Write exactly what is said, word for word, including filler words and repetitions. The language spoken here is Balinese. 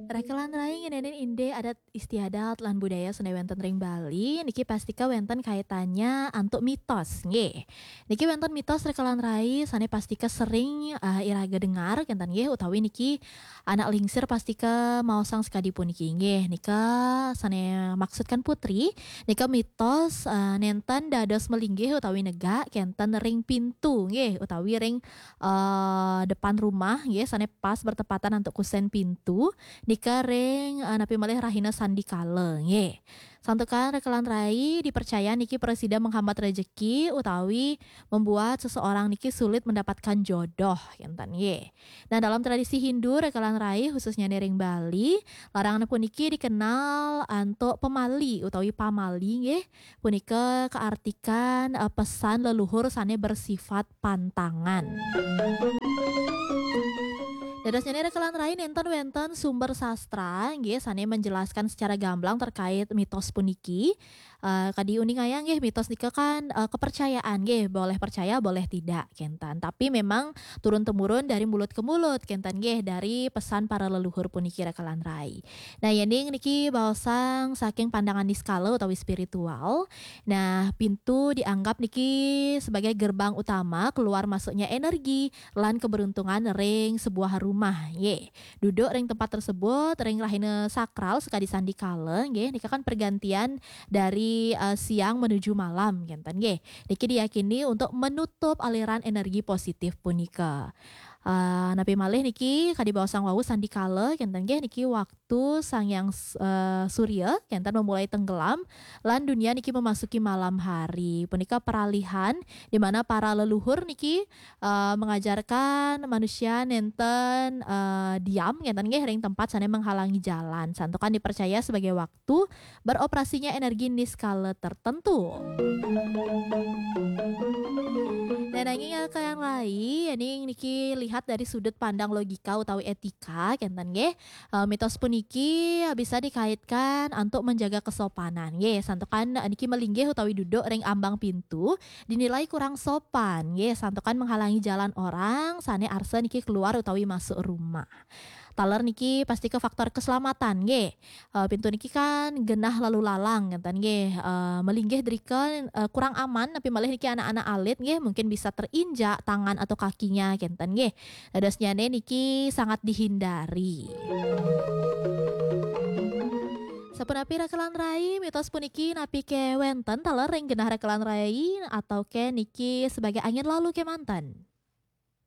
Rekelan rai ngenenin inde adat istiadat lan budaya sane wenten ring Bali, niki pastika wenten kaitannya antuk mitos, nggih. Niki wenten mitos rekelan rai sane pastika sering, eh, iraga dengar, kenten nggih, utawi niki anak lingsir pastika maosang sakadi puniki, nggih. Nika sane maksudkan putri, nika mitos, eh, nenten dados melinggih utawi negak, kenten ring pintu, nggih, utawi ring, eh, depan rumah, nggih, sane pas bertepatan antuk kusen pintu, nika ring, eh, napi malih rahina sandikala, nggih. Santukan rekelan rai dipercaya niki prasida menghambat rejeki utawi membuat seseorang niki sulit mendapatkan jodoh, kenten, nggih. Nah, dalam tradisi Hindu, rekelan rai, khususnya ring Bali, larangan puniki dikenal antuk pemali utawi pamali, nggih. Punika kaartikan, eh, pesan leluhur sane bersifat pantangan. Dadosnyane rekelan rai nenten wenten sumber sastra, nggih, sane menjelaskan secara gamblang terkait mitos puniki. Eh, kadi uning ayah, nggih, mitos nika kan, eh, kepercayaan, nggih, boleh percaya, boleh tidak, kenten. Tapi memang turun temurun dari mulut ke mulut, kenten, nggih, dari pesan para leluhur puniki rekelan rai. Nah, yening niki baosang saking pandangan niskala utawi spiritual. Nah, pintu dianggap niki sebagai gerbang utama keluar masuknya energi lan keberuntungan ring sebuah rumah, nggih. Duduk ring tempat tersebut, ring rahina sakral sakadi sandikala, nggih, nika kan pergantian dari, eh, siang menuju malam, kenten, nggih. Niki diyakini untuk menutup aliran energi positif punika. Eh, napi malih niki kadi baosang wau sandikala, kenten, nggih, niki waktu Sang Hyang, eh, Surya, kenten, memulai tenggelam, lan dunia niki memasuki malam hari. Punika peralihan di mana para leluhur niki, eh, mengajarkan manusia nenten, eh, diam, kenten, nggih, ring tempat sane menghalangi jalan. Santukan dipercaya sebagai waktu beroperasinya energi niskala tertentu. Nah, nanging rekelan rai, yening niki lihat dari sudut pandang logika utawi etika, kenten, nggih. Eh, mitos puniki bisa dikaitkan antuk menjaga kesopanan, nggih. Santukan, eh, niki melinggih utawi duduk ring ambang pintu dinilai kurang sopan, nggih. Santukan menghalangi jalan orang sane arsa niki keluar utawi masuk rumah. Taler niki pastika faktor keselamatan, nggih. Eh, pintu niki kan genah lalu lalang, kenten, nggih. Eh, melinggih drika, eh, kurang aman, napi malih niki anak-anak alit, nggih, mungkin bisa terinjak tangan atau kakinya, kenten, nggih. Dadosnyane niki sangat dihindari. Sapunapi rekelan rai, mitos puniki napi ke wenten taler ring genah rekelan rai atau ke niki sebagai angin lalu ke manten?